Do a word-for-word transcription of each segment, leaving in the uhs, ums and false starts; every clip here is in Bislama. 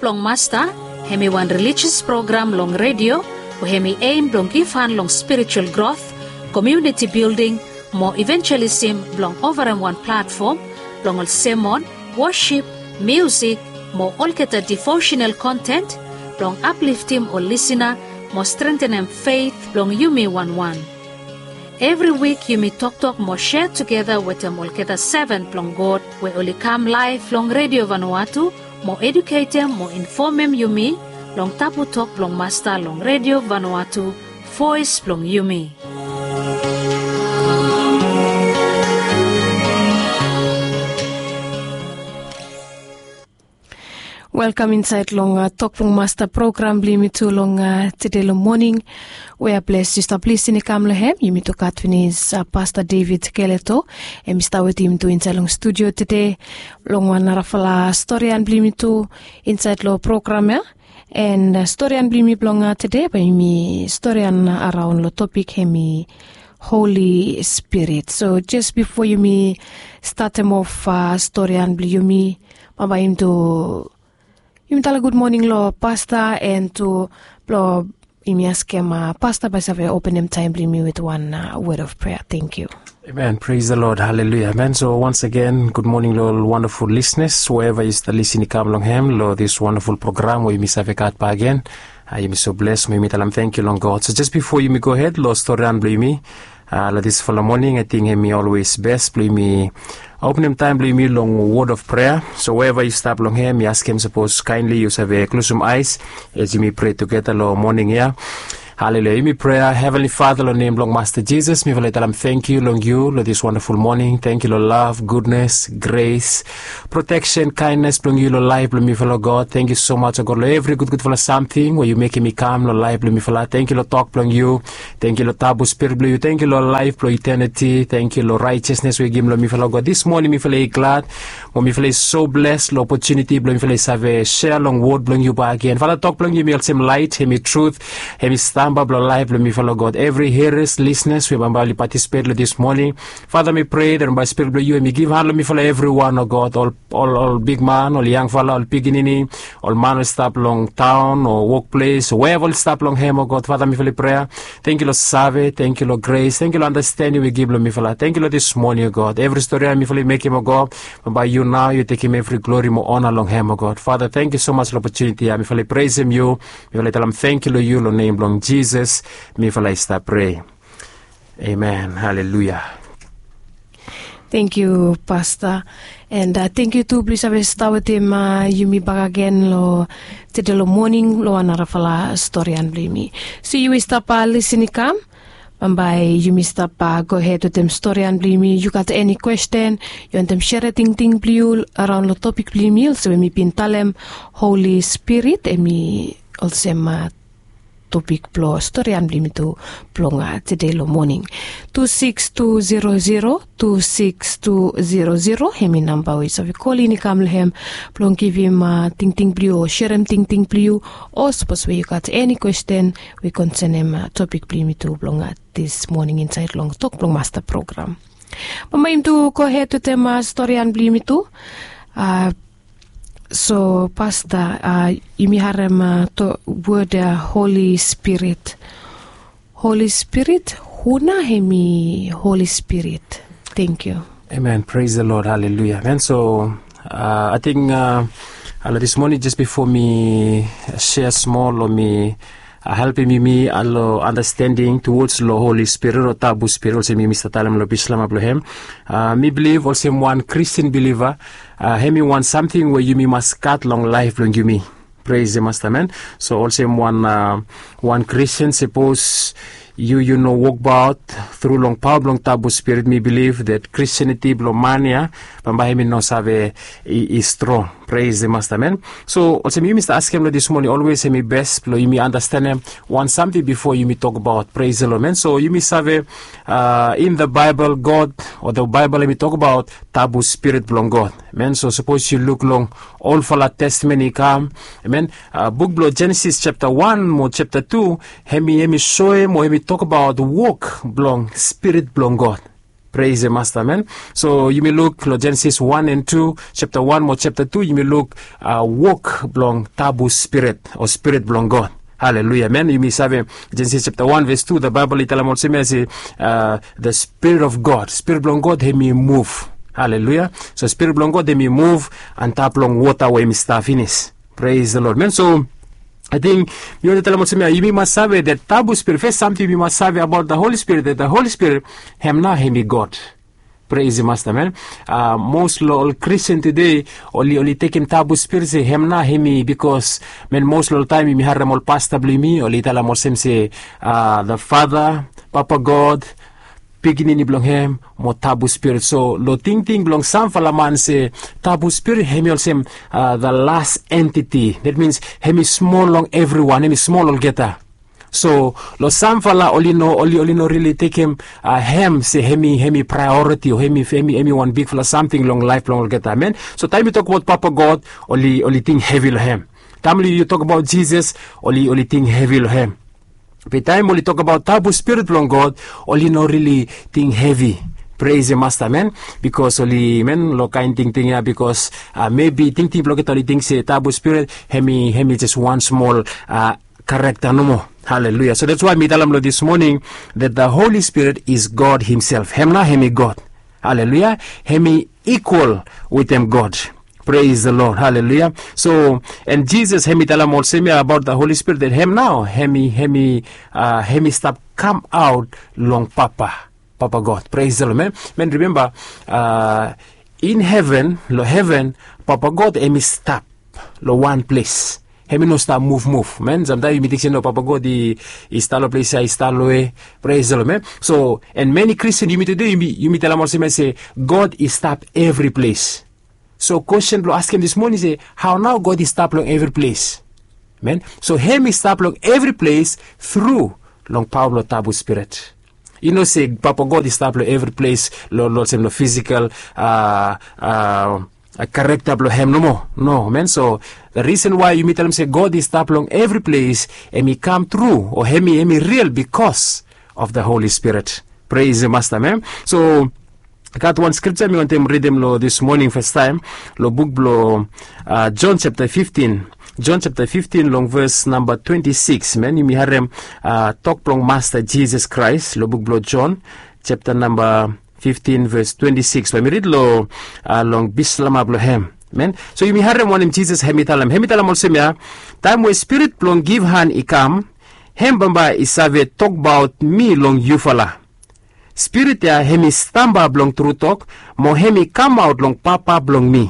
Blong Masta, hem i wan relijias program long redio we hem i eim blong givhan long spiritual grot, komuniti bilding, mo ivenjelisim blong ovarem wan platfom blong ol semon, wosip, miusik, mo olgeta divosenal kontent blong apliftim ol lisina mo strentenem feit blong yumi wanwan. Evri wik yumi toktok mo sea tugeta wetem olgeta seven blong God we oli kam laef long redio Vanuatu mo eduketem mo infomem yumi long tabu tok blong Masta long redio Vanuatu, voes blong yumi. Welkam insaed long tok blong Masta program blong yumi tu long tede long moning. We a ples yu stap lisin i kam long hem, yumi tu gat finis Pasta David Keleto, hem i stap wetem yumi tu insaed long studio tede long wan narafala storian blong yumi tu insaed long program ya. And storian blong yumi blong tede bae yumi storian araon long topik hem i Holi Spirit. So jes bifo yumi statem of storian blong yumi, bambae yumi tu yumi talem gud moning long Pasta, and tu blong yumi askem Pasta bae save openem taem blong yumi wit wan wod of prea. Tangkiu. Amen. Praise the Lord. Hallelujah. Amen. So once again, good morning long ol wonderful listeners, wherever yu stap lisin i kam long hem long this wonderful program we yumi save gat bakegen. Yumi so bles mo yumi talem tangkiu long God. So jes bifo yumi gohed long storian blong yumi long disfala moning, ating hem i olwes bes blong yumi openem taem blong yumi long wod of prea. So wherever yu stap long hem, mi askem sapos kaenli yu save klosum aes as yumi prea tugeta long moning ya. Haleluya. Yumi prea. Heavenly Father, long nem blong Masta Jisas, mifala i talem tangkiu long yu long this wonderful moning. Tangkiu long lav, gudnes, gres, proteksen, kaennes blong yu long laef blong mifala, God. Tangkiu so maj, o God, long evri gudgudfala samting we yu mekem i kam long laef blong mifala. Tangkiu long tok blong yu. Tangkiu long tabu spirit blong yu. Tangkiu long laef blong iteniti. Tangkiu long raejesnes we yu givim long mifala, God. This moning mifala i glad mo mifala i so bles long opotuniti blong mifala i save sea long wod blong yu bakegen. Fala, tok blong yu hem i olsem laet, hem i trut, hem i stamba blong laef blong mifala, God. Evri hiras, lisnas we bambae oli patisipet long this moning, Fada, mi prea that bambae spirit blong yu hem i givhan long mifala evriwan, o God, ol ol ol bigman, ol yangfala, ol pikinini, ol man we stap long taon o wokples o wea oli stap long hem, o God. Fada, mifala i prea, tangkiu long save, tangkiu long gres, tangkiu long andastening we yu givim long mifala. Tangkiu long this moning, o God. Evri stori ya mifala i mekem, o God, bambae yu nao yu tekem evri glori mo ona long hem, o God. Fada, tangkiu so maj long opotuniti ya. Mifala i presem yu. Mifala i talem tangkiu long yu long nem blong Jisas mifala i stap prea. Amen. Haleluya. Tangkiu, Pasta. And tangkiu tu blong yu save stap wetem yumi bakegen long tede long moning long wan narafala storian blong yumi. So yu we stap lisin i kam, bambae yumi stap gohed wetem storian blong yumi. Yu gat eni kwesten, yu wantem serem tingting blong yu araon long topik blong yumi, olsem we mi bin talem, Holi Spirit hem i olsem topik blong storian blong yumi tu blong tede long moning. Tu sikis tu zero zero tu sikis tu zero zero hem i namba we yu save kolin i kam long hem blong givim tingting blong yu o serem tingting blong yu, o sapos we yu gat eni kwesten we i konsenem topik blong yumi tu blong this moning insaed long Tok Blong Masta program. Bambae yumi tu gohed wetem storian blong yumi tu. So, Pasta, yumi harem wod Holi Spirit. Holi Spirit, hu nao hem i Holi Spirit? Tangkiu. Amen. Praise the Lord. Haleluya. Amen. So ating long this moning, jes bifo mi sea smol o mi helpem yumi long andastending tuwods long Holi Spirit o Tabu Spirit, olsem yumi stap talem long Bislama blong hem. Mi bilif olsem wan Kristin biliva, hem i wan samting we yumi mas gat long laef blong yumi. Pres de Masta, amen. So olsem wan wan Kristin, sapos yu yu no wokbaot tru long paoa blong Tabu Spirit, mi bilif that Kristiniti blong man ya bambae hem i no save i strong. Pres de Masta, amen. So olsem yumi stap askem long this moning, olwes hem i bes blong yumi andastenem wan samting bifo yumi tokbaot. Pres de Lod, amen. So yumi save in the Bible, God o the Bible hem i tokbaot Tabu Spirit blong God, amen. So sapos yu luk long olfala Testamen i kam, amen, buk blong Jenesis japta wan mo japta tu, hem i hem i soem o hem i tokbaot wok blong Spirit blong God. Pres e masta, men. So yumi luk long Jenesis wan and tu, chapta wan mo chapta tu, yumi luk wok blong tabu spirit o spirit blong God. Haleluia, men. Yumi save Jenesis chapta wan ves tu, the Bible i talem olsem ya se, the spirit of God, spirit blong God hem i muv. Haleluia. So spirit blong God hem i muv antap long wota we hem i stap finis. Pres the Lord, men. So ating mi wantem talem olsem ya, yumi mas save that tabu spirit, fes samting yumi mas save abaot the Holy Spirit, that the Holy Spirit hem nao hem i God. Pres the Masta, men. Mos long ol Kristin tude oli oli tekem tabu spirit se hem nao hem i, bikos, men, mos long ol taem yumi harem ol pasta blong yumi oli talem olsem se, the Father, Papa God, Pikinini blong hem mo tabu spirit. So long tingting blong samfala man se tabu spirit hem i olsem the las entiti, that means hem i smol long evriwan, hem i smol olgeta. So long samfala oli no oli oli no rili tekem hem se hem i hem i praeoriti o hem i hem i hem i wan bigfala samting long laef blong olgeta, amen. So taem yu tokbaot Papa God, oli oli ting hevi long hem. Taem oli yu tokbaot Jisas, oli oli ting hevi long hem. Be taem oli tokbaot tabu spirit blong God, oli no rili ting hevi. Pres the Masta, men. Bikos oli, men, long kaen tingting ya, bikos mebi tingting blong olgeta oli ting se tabu spirit hem i hem i jes wan smol karekta nomo. Haleluia. So that's why mi talem long this morning that the Holy Spirit is God himself. Hem nao hem i God. Haleluia. Hem i ikwal wetem God. Pres the Lord. Haleluia. So, and Jisas hem i talem olsem ya abaot the Holy Spirit, that hem nao hem i hem i hem i stap kamaot long Papa, Papa God. Pres the Lord, men. Men, rimemba, in heven, long heven, Papa God hem i stap long wan ples. Hem i no stap muvmuv, men. Samtaem yumi ting se no, Papa God i stap long ples ya, i stap long we. Pres the Lord, men. So, and many Kristin, yumi tude yumi yumi talem olsem ya se God i stap evri ples. So kwestin blong askem this morning se, hao nao God i stap long evri ples? Men, so hem i stap long evri ples tru long paoa blong tabu spirit. I no se Papa God i stap long evri ples long olsem long fisikal karekta blong hem nomo. No, men. So the reason why yumi talem se God i stap long evri ples, hem i kam tru o hem i hem i ril bikos of the Holy Spirit. Pres the Masta, men. So gat wan skripta mi wantem ridim long this morning fastaem, long buk blong John chapta fiftin. John chapta fiftin long ves namba twenti sikis, men. Yumi harem tok blong Masta Jisas Kraes long buk blong John chapta namba fiftin ves twenti sikis, bae mi rid long long bislama blong hem, men. So yumi harem wanem Jisas hem i talem. Hem i talem olsem ya, taem we Spirit blong givhan i kam, hem bambae i save tokbaot mi long yufala. Spirit ya hem i stamba blong tru tok, mo hem i kamaot long Papa blong mi.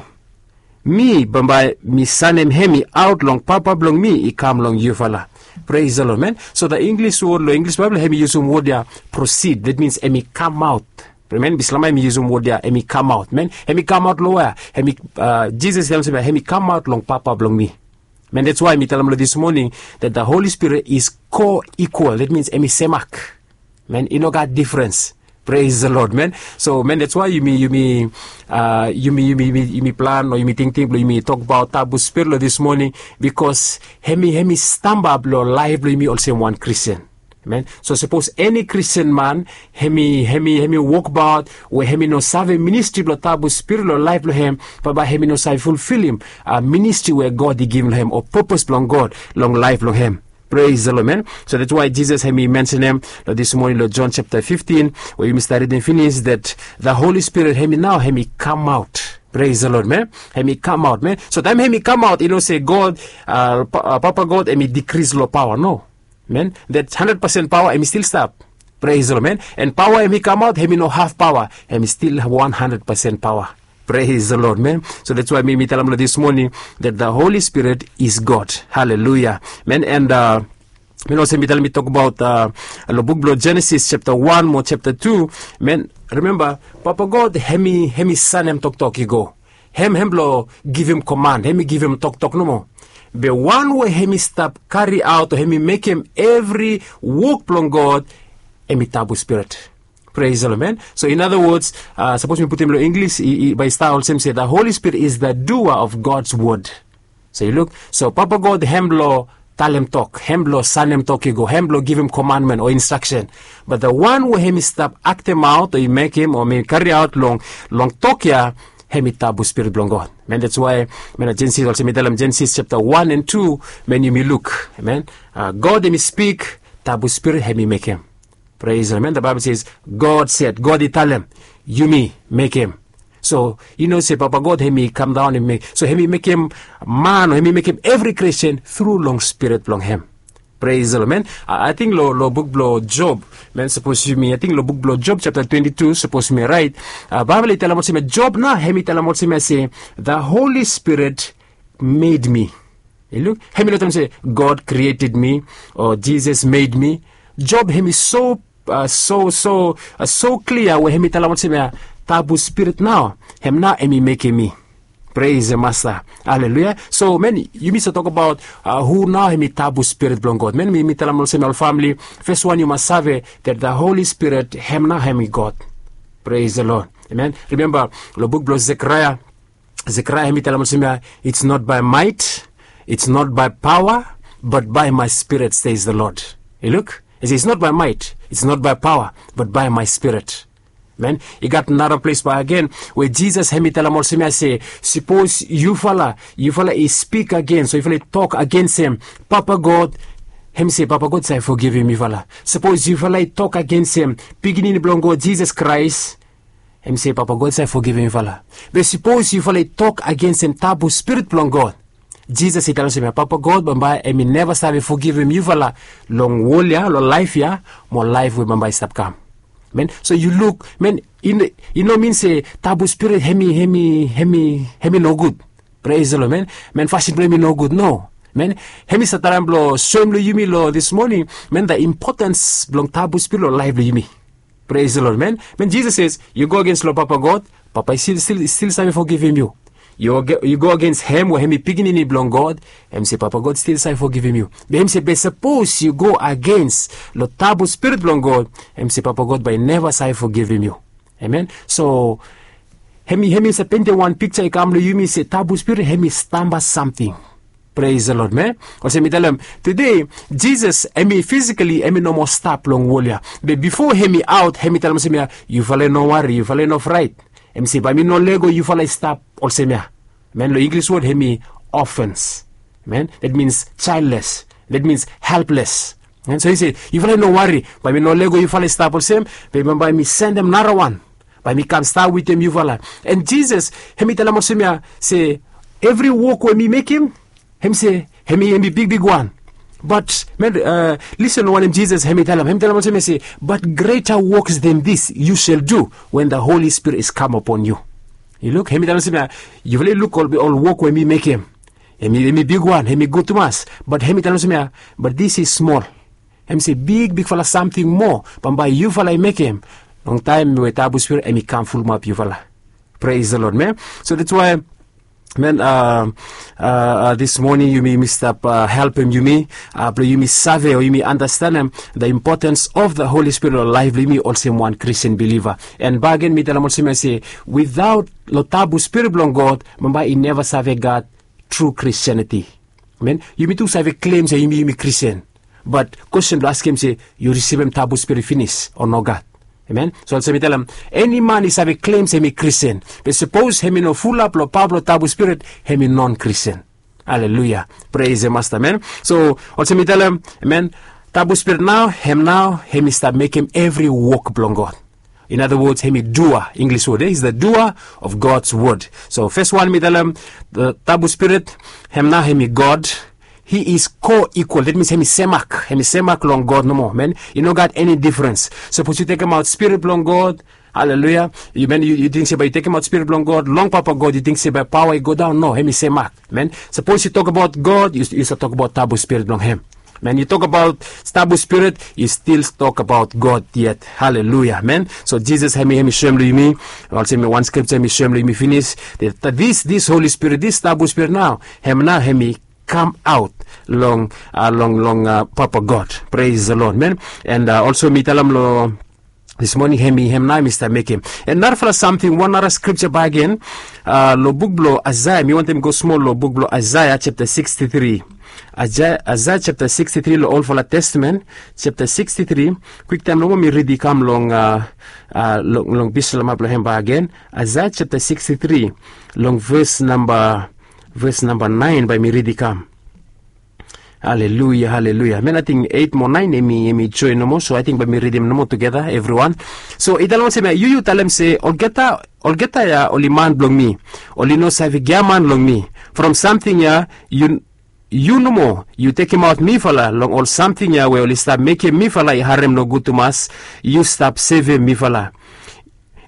Mi bambae mi sanem hem i aot long Papa blong mi i kam long yufala. Pres the Lord, men. So the Inglis wod long Inglis Baebol hem i yusum wod ya prosid, that means hem i kamaot. Men, bislama hem i yusum wod ya hem i kamaot, men. Hem i kamaot long wea? Hem i Jisas i talem olsem ya hem i kamaot long Papa blong mi. Men, that's why mi talem long this morning that the Holy Spirit is co-equal, that means hem i semak. Men, i no gat difrens. Pres the Lord, men. So, men, that's why yumi yumi yumi yumi plan o yumi tingting blong yumi tokbaot tabu spirit long this morning, bikos hem i hem i stamba blong laef blong yumi olsem wan Kristin. Men, so sapos eni Kristin man hem i hem i hem i wokbaot we hem i no save ministri blong tabu spirit long laef blong hem, bambae hem i no save fulfilim ministri we God i givim long hem o pepes blong God long laef blong hem. Pres the Lord, men. So that's why Jisas hem i mensenem long this morning long John chapta fiftin, we yumi stap ridim finis, that the Holy Spirit hem i nao hem i kamaot. Pres the Lord, men. Hem i kamaot, men. So taem hem i kamaot, i no se God, Papa God hem i dikris long paoa, no. Men, that handred pasen paoa hem i stil stap. Pres the Lord, men. And paoa hem i kamaot hem i no haf paoa, hem i stil wan handred pasen paoa. Pres the Lord, men. So that's why mi mi talem long this morning that the Holy Spirit is God. Haleluia, men. And men, olsem mi talem, mi tokbaot long buk blong Jenesis chapta wan mo chapta tu, men. Rimemba, Papa God hem i hem i sanem toktok i go. Hem hem blong givim koman, hem i givim toktok nomo. Be wan we hem i stap kariaot o hem i mekem evri wok blong God, hem i tabu spirit. Pres the Lord, men. So in other words, sapos mi putum long Inglis, bae i stap olsem se the Holy Spirit is the doer of God's word. So yu luk, so Papa God hem long talem tok, hem blong sanem tok i go, hem blong givim komandmen o instraksen. Bat the wan we hem i stap aktemaot o i mekem o hem i kariaot long long tok ya, hem i tabu spirit blong god. Men that's why men na Genesis olsem mi talem Genesis chapter wan and tu, men yumi luk men, god hem i spik, tabu spirit hem i mekem. Praise the Lord. The Bible says, God said, god i talem, yumi mekem. So i no se papa god hem i kam daon hem i mek, so hem i mekem man o hem i mekem evri Christian thru long spirit blong hem. Praise the Lord, men. Ating lo lo buk blong Job, men, sapos yumi ating lo buk blong Job chapter twenty-two, sapos yumi rait, Bible i talem olsem ya Job nao hem i talem olsem ya se, the Holy Spirit made me. I luk, hem i no talem se, God created me, o Jesus made me. Job hem i so so so so klia we hem i talem olsem ya, tabu spirit nao, hem nao hem i mekem mi. Praise the Master. Haleluya. So men, yumi save tokbaot hu nao hem i tabu spirit blong god. Men, mi mi talem olsem ya ol famili, fes wan yu mas save that the Holy Spirit hem nao hem i god. Praise the Lord. Amen. Rimemba lo buk blong Zechariah, Zechariah hem i talem olsem ya, it's not by might, it's not by power, but by my spirit, says the Lord. I luk, i se it's not by might, it's not by power, but by my spirit. Men, i gat nara ples bak agen we Jisas hem i talem olsem ya se, sapos yufala yufala i spik agens o yufala i tok agensem papa god, hem i se papa god save fogivim yufala. Sapos yufala i tok agensem pikinini blong god Jisas Kraes, hem i se papa god save fogivim yufala. Be sapos yufala i tok agensem tabu spirit blong god, Jisas i talem olsem ya papa god bambae hem i neva save fogivim yufala long wol ya, long laef ya, mo laef we bambae i stap kam. Men, so yu luk, men, i no min se tabu spirit hem i hem i hem i hem i nogud. Praise the Lord, men. Men, fasin blong hem i nogud, no. Men, hem i save traem blong soem long yumi long this morning, men, the importance blong tabu spirit long laef blong yumi. Praise the Lord, men. Men, Jisas ses yu go agens long papa god, papa i stil stil save fogivim yu. Yu go agens hem we hem i pikinini blong god, hem i se papa god stil save fogivim yu. Be hem i se be sapos yu go agens long tabu spirit blong god, hem i se papa god bae i neva save fogivim yu. Amen. So hem i hem i save pentem wan pikja i kam long yumi se tabu spirit hem i stamba samting. Praise the Lord, men. Olsem mi talem, tude Jisas hem i fisikali hem i no moa stap long wol ya. Be bifo hem i aot hem i talem olsem ya, yufala i no wari, yufala i no fraet. Hem i se bae mi no lego yufala i stap olsem ya. Men, long Inglis wod hem i orphans. Men, that means childless, that means helpless. Men, so i se yufala i no wari, bae mi no lego yufala i stap olsem, be bambae mi sendem narawan bae mi kam stap wetem yufala. And Jisas hem i talem olsem ya se, evri wok we mi mekem, hem i se hem i hem i bigbig wan. Bat men, listen long wanem Jisas hem i talem, hem i talem olsem ya se, but greater works than this you shall do when the Holy Spirit is come upon you. I luk, hem i talem olsem ya, yufala i luk ol wok we mi mekem, hem i bigwan, hem i gud tumas, bat hem i talem olsem ya, but this is small. Hem i se bigbigfala samting moa bambae yufala i mekem, long taem we tabu spirit hem i kam fulumap yufala. Praise the Lord, men. So that's why, men, a a a this morning yumi yumi stap helpem yumi, a blong yumi save o yumi andastanem the importance of the Holy Spirit long laef blong yumi olsem wan Christian believer. And bagen mi talem olsem ya se, without long tabu spirit blong god, bambae i neva save gat tru Christianity. Men, yumi tu save klem se yumi yumi Christian, bat kwestin blong askem se, yu risivim tabu spirit finis o nogat? Amen. So olsem mi talem, eni man i save klem se hem i Christian, be sapos hem i no fulap long paoa blong tabu spirit, hem i non Christian. Haleluya. Praise the Master, men. So olsem mi talem, amen, tabu spirit nao hem nao hem i stap mekem evri wok blong god. In other words, hem i dua, Inglis wod, is the dua of God's word. So fes wan mi talem, tabu spirit, hem nao hem i god. He is co-equal, that means hem i semak, hem i semak long god nomo, men. I no gat eni difrens. Sapos yu tekemaot spirit blong god, haleluya, yu men yu ting se bae yu tekemaot spirit blong god long papa god, yu ting se bae paoa i godaon? No, hem i semak, men. Sapos yu tokbaot god, yu save tokbaot tabu spirit blong hem. Men, yu tokbaot tabu spirit, yu stil tokbaot god yet. Haleluya, men. So Jisas hem i hem i soem long yumi, olsem wan skripja hem i soem long yumi finis, that this this Holy Spirit, this tabu spirit nao, hem nao hem i kamaot long long long papa god. Praise the Lord, men. And olsem mi talem long this morning, hem i hem nao hem i stap mekem. And narafala samting, wan nara skripja bagen, long buk blong Aesaya, mi wantem go smol long buk blong Aesaya chapter sixty-three. Aisaia japta sikstitri long olfala testamen, japta sikstitri. Kwiktaem nomo mi ridi kam long a long bislama blong hem bagen. Aisaia japta sikstitri, long ves namba ves namba naen bae mi ridi kam. Haleluia, haleluia. Men ating eit mo naen em i joen nomo, so ating bae mi ridim nomo tugeta evriwan. So i talem olsem ya, yu yu talem se olgeta olgeta ya oli man blong mi. Oli no save giaman long mi. From samting ya yu yu nomo yu tekemaot mifala long ol samting ya we oli stap mekem mifala i harem nogud tumas. Yu stap sevem mifala.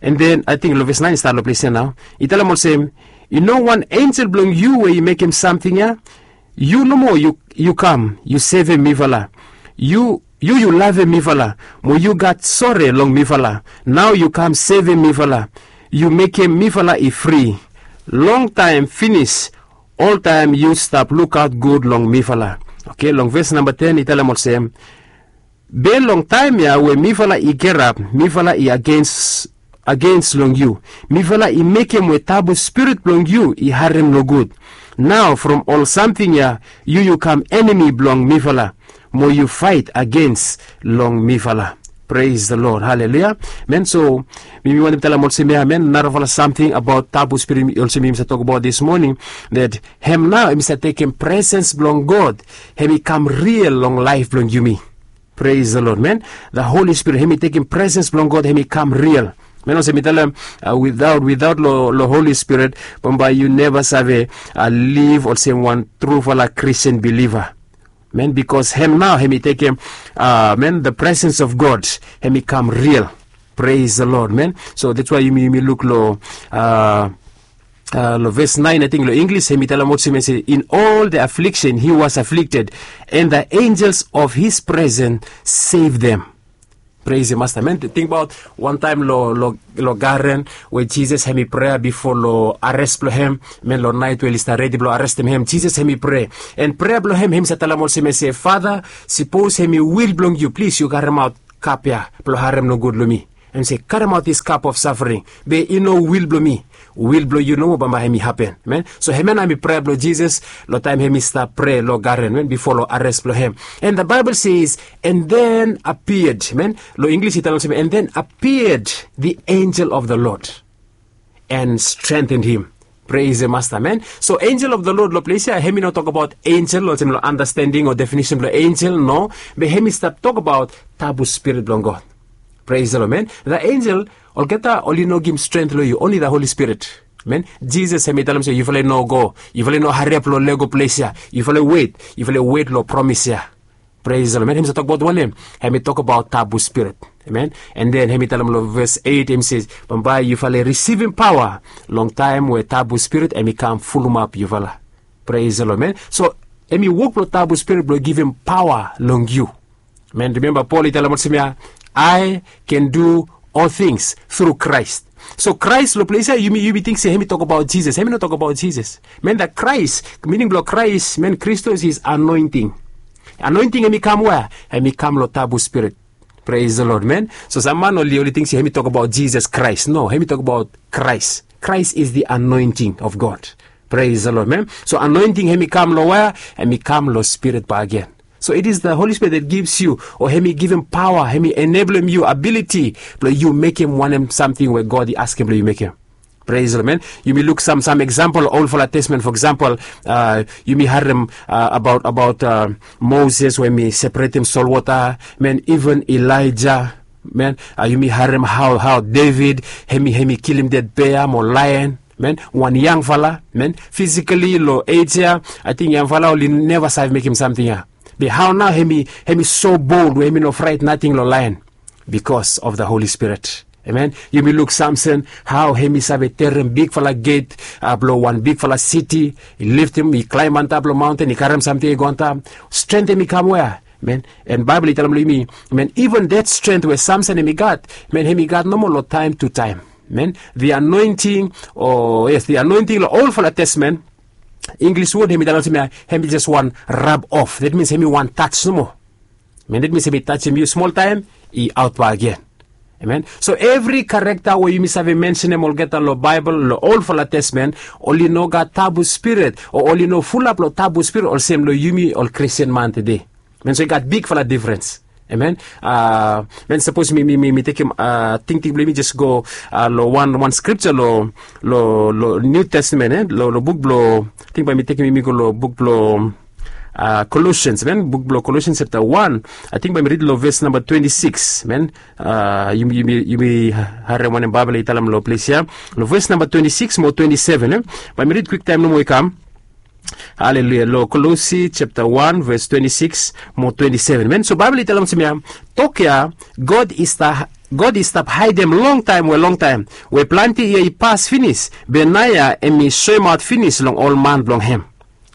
An den ating long ves naen i stat long ples ya nao. I talem olsem, i no wan enjel blong yu we i mekem samting ya. Yu nomo yu kam yu sevem mifala. Yu yu lavem mifala, mo yu gat sore long mifala. Nao yu kam sevem mifala. Yu mekem mifala i fri. Longtaem finis, oltaem yu stap lukaot gud long mifala. Oke, long ves namba ten i talem olsem, be long taem ya we mifala i gerap, mifala i agens agens long yu. Mifala i mekem we tabu spirit blong yu i harem nogud. Nao from ol samting ya yu yu kam enemi blong mifala, mo yu faet agens long mifala. Pres de lod, haleluia. Men so mi mi wantem talem olsem ya men narafala samting abaot tabu spirit olsem mi mi save tokbaot dis moning, dat hem nao hem i save tekem presens blong god hem i kam ril long laef blong yumi. Pres de lod men. Da holi spirit hem i tekem presens blong god hem i kam ril. Men olsem mi talem, widaot widaot long holi spirit, bambae yu neva save liv olsem wan trufala kristian biliva. Men bikos hem nao hem i tekem men da presens of god hem i kam ril. Pres de lod men. So dats wae yumi yumi luk long long ves naen ating long inglis hem i talem olsem ya se in ol de afliksen hi was aflikted, an da enjels of his presen sev dem. Pres de masta men tingbaot wantaem long garen, we jisas hem i prea bifo long ares blong hem. Men long naet we oli stap redi blong arestem hem jisas hem i prea, an prea blong hem hem i save talem olsem ya se fada, sipos hem i wil blong yu plis yu karemaot kap ya blong harem nogud long mi. Hem se karemaot dis kap of safring, be i no wil blong mi, wil blong yu nomo bambae hem i hapen. Men so hem ya nao hem i prea blong jisas long taem hem i stap prea long garen men bifo long ares blong hem. An da baebol ses, an den apiad men, long inglis i talem olsem an den apiad di enjel of da lod, an strenten him. Pres de masta men. So enjel of da lod long ples ya hem i no tokbaot enjel olsem long andastending o definisen blong enjel no, be hem i stap tokbaot tabu spirit blong god. Pres de lod men. Da enjel olgeta oli no givim strent long yu, onli da holi spirit. Men jisas hem i talem se yufala i no go, yufala i no hariap long lego ples ya, yufala i wet, yufala i wet long promis ya. Pres de lod men hem i save tokbaot wanem? Hem i tokbaot tabu spirit. Amen. An den hem i talem long ves eit hem i se, bambae yufala i risivim paoa long taem we tabu spirit hem i kam fulumap yufala. Pres de lod men. So hem i wok blong tabu spirit blong givim paoa long yu. Men rimemba pol i talem olsem ya, ai ken du ol tings tru kraes. So kraes long ples ya yumi yumi ting se hem i tokbaot jisas hem i no tokbaot jisas. Men da kraes, mining blong kraes men kristos is anoenting. Anoenting hem i kam wea? Hem i kam long tabu spirit. Pres de lod men. So sam man oli oli ting se hem i tokbaot jisas kraes no hem i tokbaot kraes. Kraes is di anoenting of god. Pres de lod men. So anoenting hem i kam long wea? Hem i kam long spirit bagen. So it is da holi spirit dat givs yu o hem i givim paoa hem i eneblem yu abiliti blong yu mekem wanem samting we god i askem blong yu mekem. Pres long men. Yumi luk sam sam eksampol olfala testamen fo eksampol, yumi harem abaot abaot moses we hem i separetem solwota, men iven elaija. Men yumi harem hao hao devid hem i hem i kilim ded bea mo laen. Men wan yangfala men fisikali long ej ya, ating yangfala oli neva save mekem samting ya. Be hao nao hem i hem i so bold we hem i no fraet nating long laen? Bikos of da holi spirit. Amen. Yumi luk samson hao hem i save terem bigfala get blong wan bigfala siti, i liftim i klaem antap long maonten i karem samting i go antap. Strent hem i kam wea? Men en baibel i talem long yumi, men iven det strent we samson hem i gat, men hem i gat nomo long taem tu taem. Men di anoenting o yes di anoenting long olfala testamen, inglis wod hem i talem olsem ya, hem i jes wan rab of, det mins hem i wan taj nomo. Men det mins hem i tajem yu smol taem i aot bagen. Amen. So evri karekta we yumi save mensenem olgeta long Baebol long olfala testamen, oli no gat tabu spirit o oli no fulap long tabu spirit olsem long yumi ol Kristin man tede. Amen. So i gat bigfala difrens. Amen. Amen. Sapos mi mi mi mi tekem tingting blong yumi jes go long wan wan skripta long long long Niu Testamen, e, long long buk blong, ating bae mi tekem yumi go long buk blong Kolosians, amen. Buk blong Kolosians chapta wan, ating bae mi rid long ves namba twenti sikis, amen. Yumi yumi yumi harem wanem Baebol i talem long ples ya, long ves namba twenti sikis mo twenti seven, e. Bae mi rid kwiktaem nomo i kam. Haleluya. Long Kolosi chapta wan ves twenti sikis mo twenti seven, amen. So Baebol i talem olsem ya, tok ya God i stap God i stap haedem longtaem we longtaem we plante yia i pas finis, be naoia hem i soemaot finis long ol man blong hem.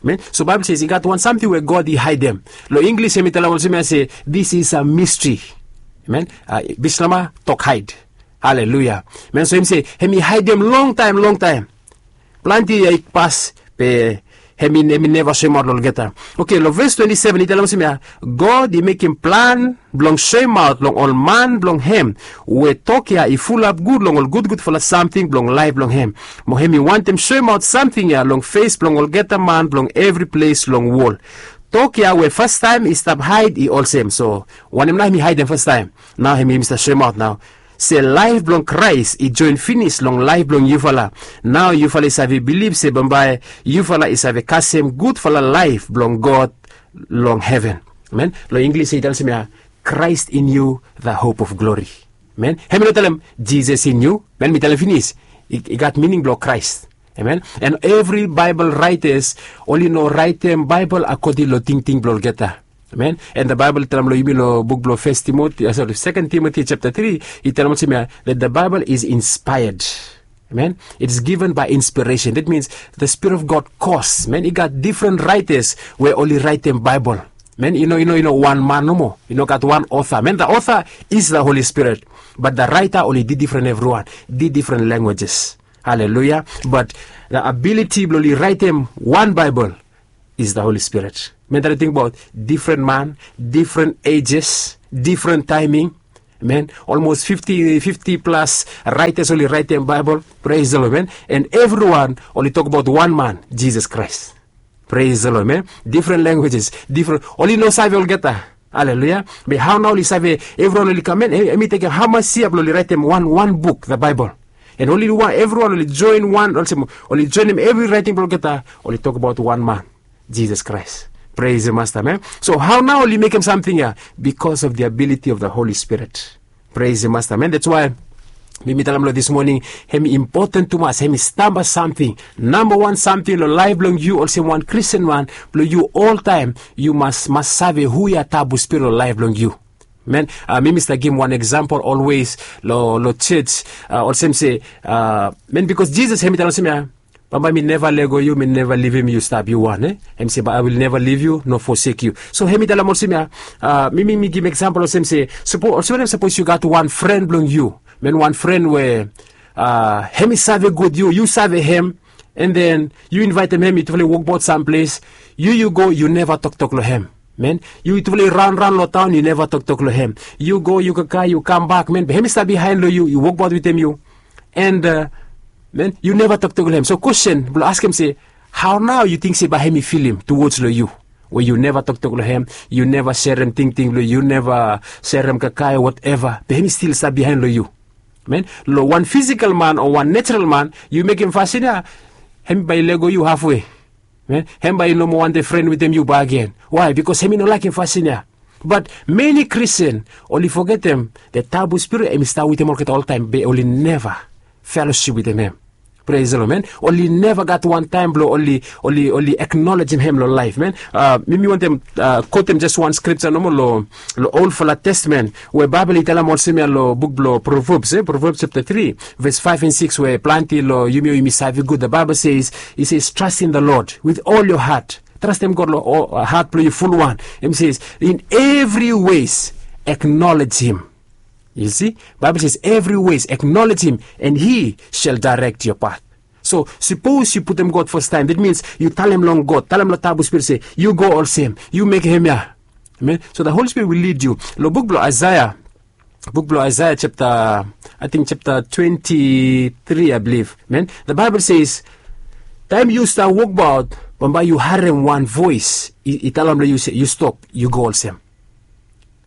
Amen. So Baebol se i gat wan samting we God i haedem. Long Inglis hem i talem olsem ya se, this is a mystery. Amen. Bislama tok haed. Haleluya. Amen. So hem se hem i haedem longtaem longtaem. Plante yia i pas be hem i neva soemaot long olgeta. Oke, long ves twenti seven i talem olsem ya, God i mekem plan blong soemaot long ol man blong hem we tok ya i fulap gud long ol gudgudfala samting blong laef blong hem. Mo hem i wantem soemaot samting ya long fes blong olgeta man blong evri ples long wol. Tok ya we fastaem i stap haed i olsem. So wanem nao hem i haedem fastaem? Nao hem i stap soemaot nao se laef blong Kraes i joen finis long laef blong yufala. Nao yufala i save bilif se bambae yufala i save kasem gudfala laef blong God long heven. Amen. Long Inglis ya i talem olsem ya, Christ in you, the hope of glory. Amen. Hem i no talem Jesus in you. Amen. Mi talem finis, i gat mining blong Kraes. Amen. And evri Baebol raetas oli no raetem Baebol akoding long tingting blong olgeta. Amen. And the Baebol i talem long yumi long buk blong Fes Timoti, sori, Seken Timoti chapta tri, i talem olsem ya that the Bible is inspired. Amen. It is given by inspiration. That means the Spirit of God cause. Amen. I gat difren raetas we oli raetem Baebol. Amen. I no i no i no wan man nomo. I no gat wan author. Amen. The author is the Holy Spirit. But the writer oli difren evriwan, difren languages. Haleluya. But the ability blong oli raetem wan Baebol is the Holy Spirit. Amen. That I think about difren man, difren ages, difren taeming. Amen. Almost fifti fifti plas raetas oli raetem Baebol. Praise the Lord, amen. And evriwan oli tokbaot wan man, Jesus Christ. Praise the Lord, amen. Difren languages, difren, oli no save olgeta. Haleluya. Be hao nao oli save, evriwan oli kam, amen. Hem i tekem hamas yia blong oli raetem wan wan buk, the Bible. And oli wan, evriwan oli joen wan, olsem oli joenem evri raeting blong olgeta, oli tokbaot wan man, Jesus Christ. Praise the Master, amen. So hao nao oli mekem samting ya? Because of the ability of the Holy Spirit. Praise the Master, amen. That's why mi mi talem long this morning, hem i impoten tumas, hem i stamba samting. Nambawan samting long laef blong yu olsem wan Kristin man, blong yu oltaem yu mas mas save hu ya tabu spirit long laef blong yu. Amen. Mi mi stap givim wan eksampol olwes long long jos, olsem se, amen, bikos Jisas hem i talem olsem ya, bambae mi neva lego yu, mi neva livim yu stap yu wan, e? Hem i se, but I will never leave you nor forsake you. So hem i talem olsem ya, mi mi mi givim eksampol olsem se, olsem wanem sapos yu gat wan fren blong yu, amen, wan fren we hem i save gud yu, yu save hem, and then yu invaetem hem, yutufala i wokbaot samples, yu yu go, yu neva toktok long hem. Amen. Yutufala i raonraon long taon, yu neva toktok long hem. Yu go, yu kakae, yu kambak, amen, be hem i stap bihaen long yu, i wokbaot wetem yu. And amen, yu neva toktok long hem. So kwestin blong askem se, hao nao yu ting se bae hem i filim tuwods long yu, we yu neva toktok long hem, yu neva serem tingting blong yu, yu neva serem kakae o wateva, be hem i stil stap bihaen long yu? Amen. Long wan fisikal man o wan nejaral man, yu mekem fasin ya, hem bae i lego yu hafwe. Amen. Hem bae i no moa wantem fren wetem yu bakegen. Wae? Bikos hem i no laekem fasin ya. But many Christian oli fogetem the Tabu Spirit hem i stap wetem olgeta oltaem, be oli neva felosip wetem hem. Praise the Lord, amen. Oli neva gat wan taem blong oli, oli, oli acknowledgem hem long laef, amen. Mi mi wantem kotem jes wan skripja nomo long long Olfala Testamen, we Baebol i talem olsem ya long buk blong Proverbs, e, Proverbs chapter three, verse five and six, we plante long yumi we yumi save gud. The Bible says, it says, "Trust in the Lord with all your heart." Trastem God long hat blong yu fulwan. Hem i se, "In every ways acknowledge him." Yu si, Baebol says, "Every ways acknowledge him and he shall direct your path." So sapos yu putum God fastaem, that means yu talem long God, talem long Tabu Spirit se, "Yu go olsem, yu mekem hemia." Amen. So the Holy Spirit will lead you. Long buk blong Isaiah, buk blong Aisaia chapta, ating chapta twenti tri, I believe, man. The Bible says, taem yu stap wokbaot, bambae yu harem wan voes i talem long yu se yu stop, yu go olsem.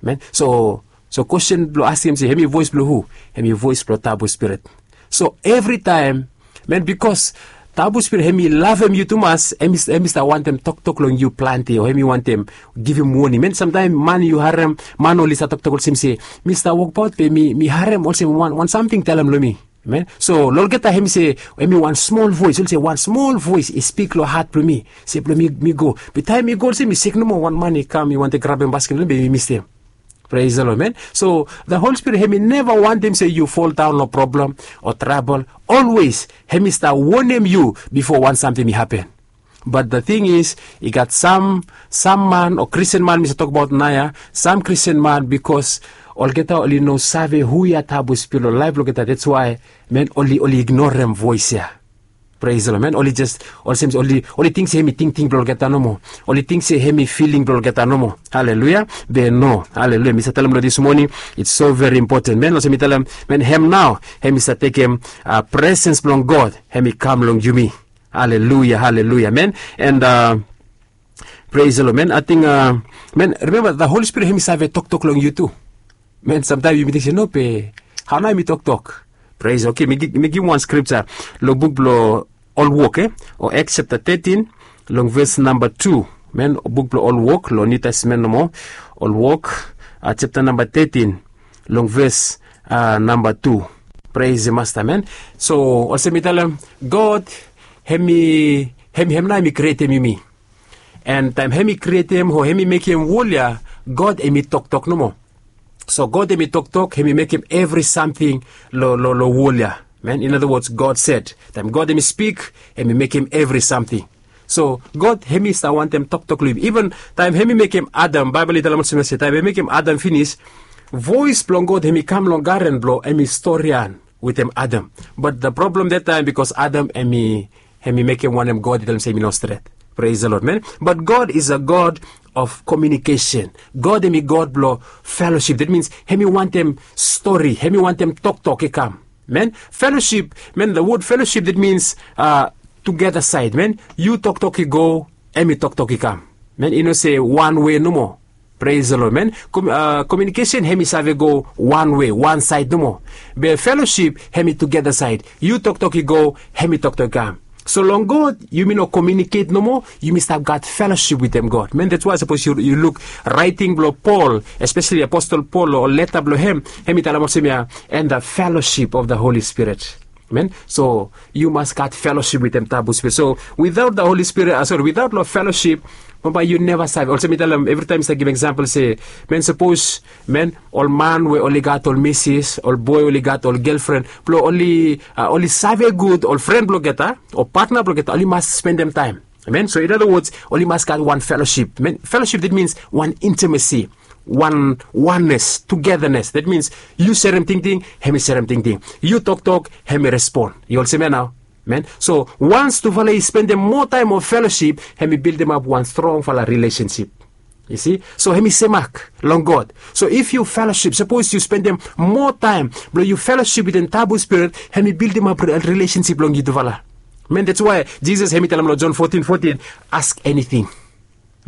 Man, so, so kwesten blong askem se hemi voes blong hu? Hemi voes blong Tabu Spirit. So evritaem, man, bikos Tabu Spirit hemi lavem yu tumas, hemi stap wantem toktok long yu plante, o hemi wantem givim woning. Man, samtaem man yu harem, man oli stap toktok olsem se, mi stap wokbaot be mi harem olsem wan samting talem long mi. Man, so long olgeta hemi se, hemi wan smol voes, oli se wan smol voes i spik long hat blong mi se blong mi go. Be taem mi go olsem, mi sek nomo, wan man i kam, i wantem grabem basket blong mi be mi mistem. Praise the Lord, man. So the Holy Spirit hemi neva wantem se yu foldaon long problem o trabol. Olwes hemi stap wonem yu bifo wan samting i hapen. But the thing is, i gat sam, sam man o Kristian man mi save tokbaot naoia, sam Kristian man, bikos olgeta oli no save hu ya Tabu Spirit long laef blong olgeta, that's why, man, oli, oli ignorem voes ya. Praise the Lord, man. Oli jes, olsem se oli, oli ting se hemi tingting blong olgeta nomo. Oli ting se hemi filing blong olgeta nomo. Haleluya. Be no, haleluya, mi save talem long this morning, it's so very important, man. Olsem mi talem, man, hem nao hemi save tekem presens blong God, hemi kam long yumi. Haleluya, haleluya, man. And praise the Lord, man. Ating, man, remember, the Holy Spirit hemi save toktok long yu tu. Man, samtaem yumi ting se, no, be hao nao hemi toktok? Praise, okay, mi givim wan scripture long buk blong Ol Wok, e, o Acts chapter thirteen, long ves namba tu. Man, buk blong Ol Wok long Niu Testamen nomo. Ol Wok chapter namba thirteen, long ves namba tu. Praise the Master, man. So olsem mi talem, God hemi, hem nao hemi krietem yumi. And taem hemi krietem o hemi mekem wol ya, God hemi toktok nomo. So God hemi toktok, hemi mekem evri samting long, long, long wol ya. Man, in other words, God said. Taem God hemi spik, hemi mekem evri samting. So God hemi stap wantem toktok long yumi. Even taem hemi mekem Adam, Baebol i talem olsem ya se taem hemi mekem Adam finis, voes blong God hemi kam long garen blong hemi storian wetem Adam. But the problem that time, bikos Adam hemi, hemi mekem wanem God i talem se hemi no stret. Praise the Lord, man. But God is a God of communication. God hemi God blong fellowship. That means hemi wantem stori, hemi wantem toktok i kam. Man, fellowship, man, the word fellowship, that means together side, man. Yu toktok i go, hemi toktok i kam. Man, i no se wan wei nomo. Praise the Lord, man. Communication hemi save go wan wei, wan saed nomo. Be fellowship hemi together side. Yu toktok i go, hemi toktok i kam. So long God yumi no communicate nomo, yumi stap gat fellowship wetem God. Man, that's why sapos yu luk raeting blong Paul, especially Apostle Paul, o leta blong hem, hemi talem olsem ya, and the fellowship of the Holy Spirit. Man, so yu mas gat fellowship wetem Tabu Spirit. So without the Holy Spirit, sorry, without long fellowship, bambae yu neva save. Olsem mi talem, evritaem mi stap givim example se, man, sapos, man, ol man we oli gat ol misis, ol boe oli gat ol gelfren, blong oli, oli save gud ol fren blong olgeta o patna blong olgeta, oli mas spendem taem. Amen. So in other words, oli mas gat wan fellowship. Man, fellowship, that means wan intimacy, wan oneness, togetherness. That means yu serem tingting, hemi serem tingting. Yu toktok, hemi respon. Yu olsem ya nao? Man, so wans tufala i spendem moa taem o fellowship, hemi bildimap wan strongfala relationship. Yu si? So hemi semak long God. So if yu fellowship, sapos yu spendem moa taem blong yu fellowship wetem Tabu Spirit, hemi bildimap relationship long yutufala. Man, that's why Jisas hemi talem long John fourteen fourteen, ask anything.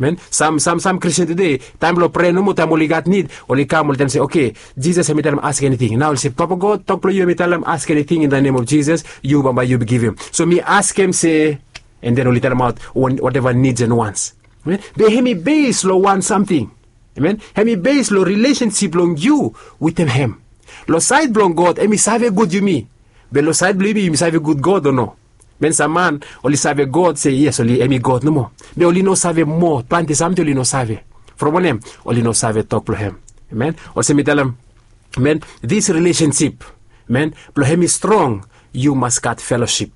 Man, sam, sam, sam Kristian tede, taem blong prea nomo, taem oli gat nid, oli kam, oli talem se, okay, Jisas hemi talem ask anything. Nao oli se, Papa God, tok blong yu hemi talem ask anything in the name of Jesus, yu bambae yu givim. So mi askem se, and then oli talemaot whatever needs and wants. Man, be hemi base long wan samting. Amen. Hemi base long relationship blong yu wetem hem. Long saed blong God, hemi save gud yumi. Be long saed blong yumi, yumi save gud God o no? Man, sam man oli save God se yes, oli, hemi God nomo. Be oli no save moa plante samting, oli no save. From wanem? Oli no save tok blong hem. Amen. Olsem mi talem, man, this relationship, man, blong hemi strong, yu mas gat fellowship.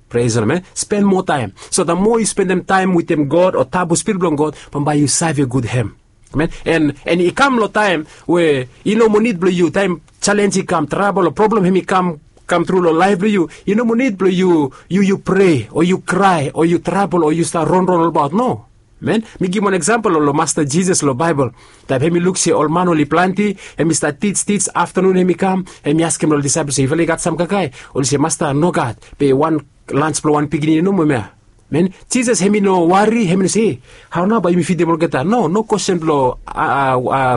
Praise the Lord, man. Spend moa taem. So the more yu spendem taem wetem God o Tabu Spirit blong God, bambae yu save gud hem. Amen. And, and i kam long taem we i no moa nid blong yu, taem challenge i kam, trabol o problem hemi kam, kam tru long laef blong yu, i no moa nid blong yu, yu, yu prea o yu krae o yu trabol o yu stap ronron olbaot. No. Men, mi givim wan eksampol long Masta Jisas long Baebol. Taem hem i luk se ol man oli plante, hem i stat tij tij, aftanun hem i kam, hem i askem long ol disaepol se, yufala i gat sam kakae? Oli se, Masta, nogat, be wan lans blong wan pikinini nomo hemia. Men, Jisas hem i no wari, hem i no se, hao nao bae yumi fidim olgeta? No, no kwestin blong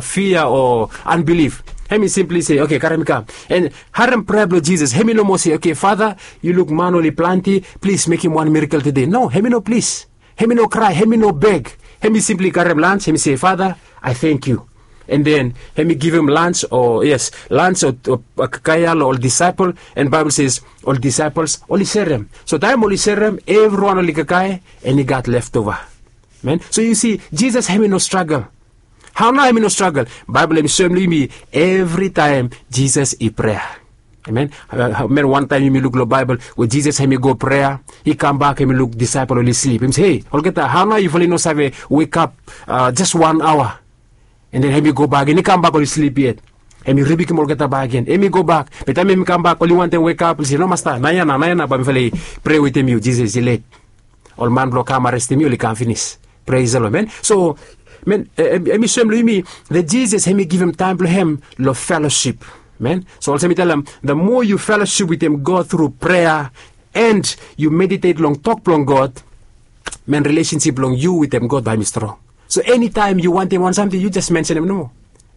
fia o anbilif. Hem i simpli se, oke, karem i kam. An harem prea blong Jisas, hem i no moa se, oke, Fada, yu luk man oli plante, plis mekem wan mirakel tede. No, hem i no plis. Hem i no krae, hem i no beg. Hem i simpli karem lans, hem i se, Fada, I thank you. An den hem i givim lans o, yes, lans o kakae ya long ol disaepol. An Baebol se ol disaepol oli serem. So taem oli serem, evriwan oli kakae, an i gat leftova. Men, so yu si, Jisas hem i no stragel. Hao nao hem i no stragel? Baebol hem i soem long yumi, evritaem Jisas i prea. Amen. Men, wantaem yumi luk long Baebol we Jisas hem i go prea, i kambak, hem i luk disaepol oli slip. Hem i se, hei, olgeta, hao nao yufala i no save wekap jes wan aoa? An den hem i gobak, hem i kambak, oli slip yet. Hem i ribikim olgeta bakegen, hem i gobak. Be taem hem i kambak, oli wantem wekap, oli se, no, Masta, naoia nao, naoia nao bae mifala i prea wetem yu. Jisas i let ol man blong kam arestem yu, oli kam finis. Praise the Lord, men. So, men, hem i soem long yumi that Jisas hem i givim taem blong hem long felosip. Men, so olsem mi talem, the more yu felosip wetem God tru prea, an yu meditet long tok blong God, men, rilesensip blong yu wetem God bae hem i strong. So enitaem yu wantem wan samting, yu jes mensenem nomo.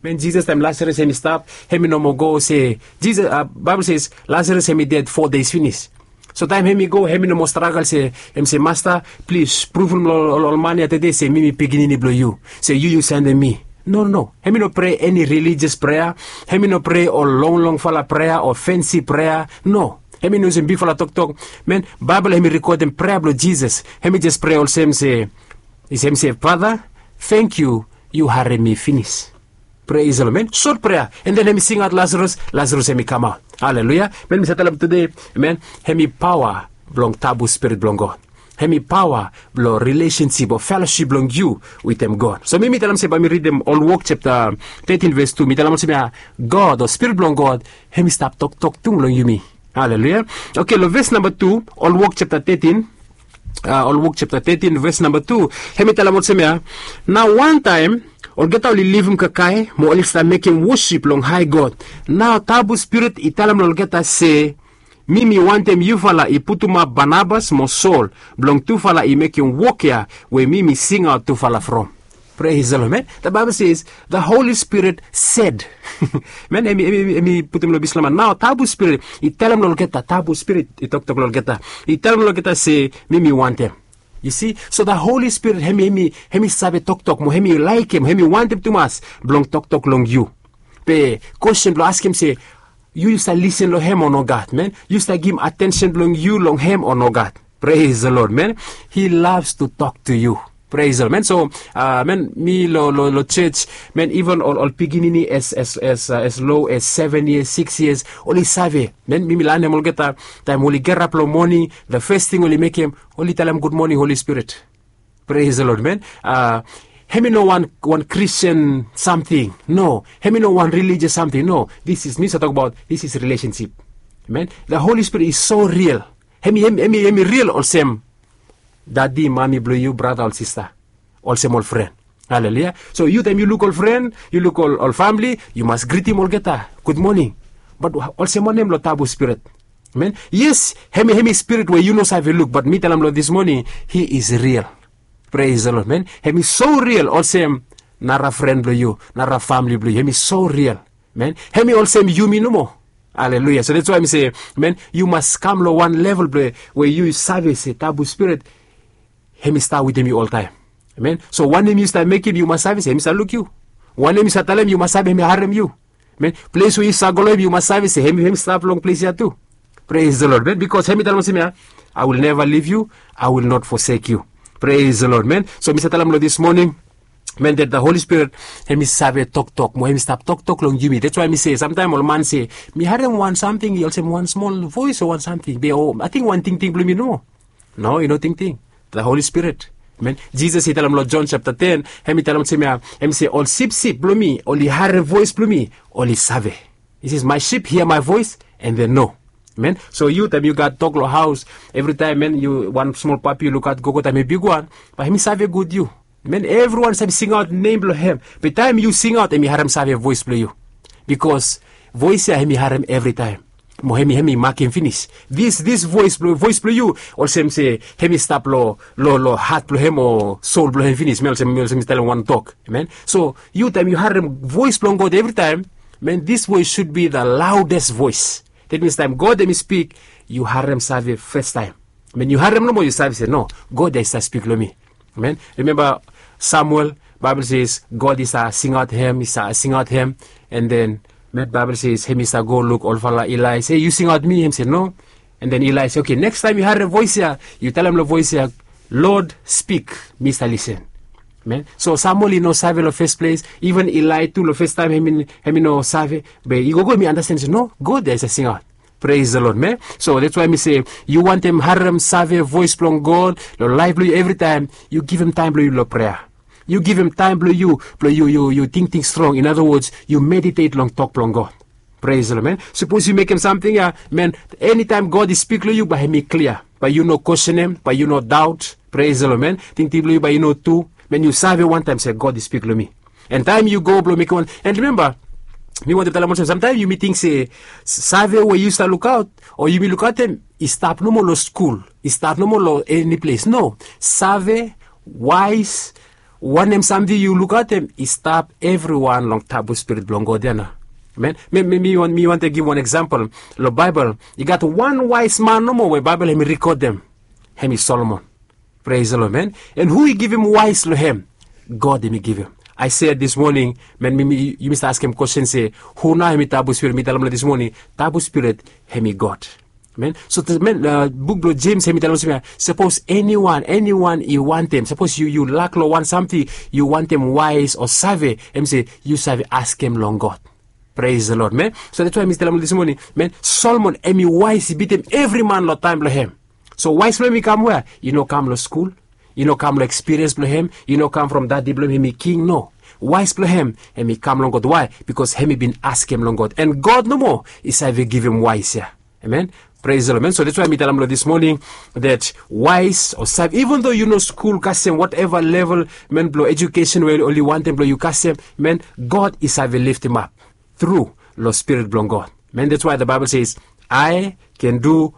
Men, Jisas, taem Lasaras hem i stap, hem i no moa go se, Jisas, Baebol se Lasaras hem i ded fo dei finis. So taem hem i go, hem i no moa stragel se, hem i se, Masta, plis pruvum long ol man ya tede se mi mi pikinini blong yu, se yu yu sendem mi. No, no, no. Hem i no prea eni rilijas prea. Hem i no prea ol longlongfala prea o fensi prea. No. Hem i no yusum bigfala toktok. Men, Baebol hem i rekodem prea blong Jisas. Hem i jes prea olsem se, hem i se, Fada, tangkiu, yu harem mi finis. Praise the Lord, men. Sot prea. An den hem i singaot Lasaras, Lasaras hem i kamaot. Haleluia. Men, mi save talem tede, men, hem i paoa blong tabu Spirit blong God. Hem i paoa blong rilesensip o felosip blong yu wetem God. So mi mi talem se bae mi ridim Ol Wok japta tetin ves tu. Mi talem olsem ya, God o Spirit blong God hem i stap toktok tu long yumi. Haleluia. Oke, long ves namba tu, Ol Wok japta tetin, Ol Wok japta tetin ves namba tu, hem i talem olsem ya, nao wantaem olgeta oli livim kakae mo oli stap mekem wosip long hae God. Nao tabu Spirit i talem long olgeta se, mi mi wantem yufala i putumap Banabas mo Sol blong tufala i mekem wok ya we mi mi singaot tufala from. Praise the Lord, men. The Bible says the Holy Spirit said. Men, hem i putum long bisloman, nao tabu Spirit i talem long olgeta, tabu Spirit i toktok long olgeta, i talem long olgeta se, mi mi wantem. Yu si, so the Holy Spirit hem i, hem i save toktok mo hem i laekem, hem i wantem tumas blong toktok long yu. Be kwestin blong askem se, yu yu save lisen long hem o nogat, men? Yu save givim atensen blong yu long hem o nogat? Praise the Lord, men. He loves to talk to you. Praise the Lord, men. So, men, mi long, long, long jos, men, iven ol, ol pikinini as, as, as, as low as seven years, six years, oli save. Men, mi mi lanem olgeta, taem oli gerap long moning, the first thing oli mekem, oli talem, "Good morning, Holy Spirit." Praise the Lord, men. Hem i no wan, wan Christian samting. No. Hem i no wan religious samting. No. This is, mi save tokbaot, this is relationship. Men, the Holy Spirit is so real. Hem i, hem i, hem i, hem i real olsem dadi, mami blong yu, brata o sista. Olsem ol fren. Haleluia. So yu taem yu luk ol fren, yu luk ol, ol famili, yu mas gritim olgeta, "Good morning." Bat olsem wanem long tabu Spirit? Men, yes, hem i, hem i Spirit we yu no save luk, bat mi talem long this morning, he is real. Praise the Lord, men. Hem i so real olsem nara fren blong yu, nara famili blong yu. Hem i so real. Men, hem i olsem yumi nomo. Haleluia. So that's why mi se, men, yu mas kam long wan level blong we yu save se tabu Spirit hem i stap wetem yu oltaem. Men, so wanem yu save mekem, yu mas save se hem i save luk yu. Wanem yu save talem, yu mas save hem i harem yu. Men, ples we yu save go long hem, yu mas save se hem, hem i stap long ples ya tu. Praise the Lord, men. Bikos hem i talem olsem ya, "I will never leave you, I will not forsake you." Praise the Lord, men. So mi save talem long this morning, men, that the Holy Spirit hem i save toktok mo hem i stap toktok long yumi. That's why mi se, samtaem ol man se, "Mi harem wan samting olsem wan smol voes o wan samting, be o ating wan tingting blong mi nomo." No, i no tingting. The Holy Spirit. Men, Jisas i talem long Jon japta ten, hem i talem olsem ya, hem i se, "Ol sipsip blong mi oli harem voes blong mi, oli save." He says, "My sheep hear my voice and they know." Men, so yu taem yu gat dog long haos, evritaem, men, yu wan smol papi yu lukaot, gogo taem i bigwan, bae hem i save gud yu. Men evriwan save singaot nem blong hem. Be taem yu singaot, hem i harem save voes blong yu. Bikos voes ya hem i harem evritaem. Mo hem i hem i makem finis. Dis dis voes blong voes blong yu, olsem se hem i stap long long long hat blong hem o sol blong hem finis. Men olsem men olsem mi talem wan tok. Amen. So yu taem yu harem voes blong God evritaem, men dis voes sud bi the loudest voes. That means taem God hem i spik, yu harem save fastaem. Men yu harem nomo, yu save se no, God ya i save spik long mi. Amen. Rimemba Samuel, Baebol ses God i save singaot hem, i save singaot hem. And then met Baebol ses hem i save go luk olfala Ilai se yu singaot mi, hem se no. And then Ilai se, okay, nekstaem yu harem voes ya, yu talem long voes ya, Lord, spik, mi save lisen. Amen. So Samuel i no save long fes ples, iven Ilai tu long fes taem hem i hem i no save. Be i gogo hem i andasten se no, God ya i save singaot. Praise the Lord, man. So that's why mi se, yu wantem harem save voes blong God long laef blong yu evritaem, yu givim taem blong yu long prea. Yu givim taem blong yu blong yu yu yu tingting strong. In other words, yu meditate long tok blong God. Praise the Lord, man. Sapos yu mekem samting ya, man, enitaem God i spik long yu, bae hem i klia. Bae yu no kwestenem, bae yu no daot. Praise the Lord, man. Tingting blong yu bae i no tu. Man, yu save wantaem se God i spik long mi. And taem yu go blong mekem wan, and rimemba, mi wantem talem olsem, samtaem yumi ting se save we yu stap lukaot o yumi lukaotem i stap nomo long skul, i stap nomo long eni ples. No. Save, waes, wanem samting yu lukaotem i stap evriwan long tabu spirit blong God ya nao. Amen. Mi mi mi wantem givim wan eksampol. Long Baebol i gat wan waes man nomo we Baebol hem i rikodem. Hem i Solomon. Praise the Lord, man. And hu i givim waes long hem? God hem i givim. I said this morning, man, mi mi yumi stap askem kwesten se, hu nao hem i tabu spirit? Mi talem long this morning, tabu spirit hem i God. Man, so man, buk blong Jems hem i talem olsem ya, sapos eniwan eniwan i wantem, sapos yu yu lak long wan samting, yu wantem waes o save, hem se yu save askem long God. Praise the Lord, man. So that's why mi talem long this morning, man, Solomon hem i waes i bitim evri man long taem blong hem. So waes blong hem i kam wea? I no kam long skul. I no kam long ekspiriens blong hem. I no kam from dadi blong hem hem i king. No. Waes blong hem hem i kam long God. Why? Bikos hem i bin askem long God, and God nomo i save givim waes ya. Amen. Praise the Lord, man. So that's why mi talem long this morning that waes o save, even though yu no skul kasem whatever level, man, blong ejukesen we oli wantem blong yu kasem, man, God i save liftim ap tru long spirit blong God. Man, that's why the Bible says, I can do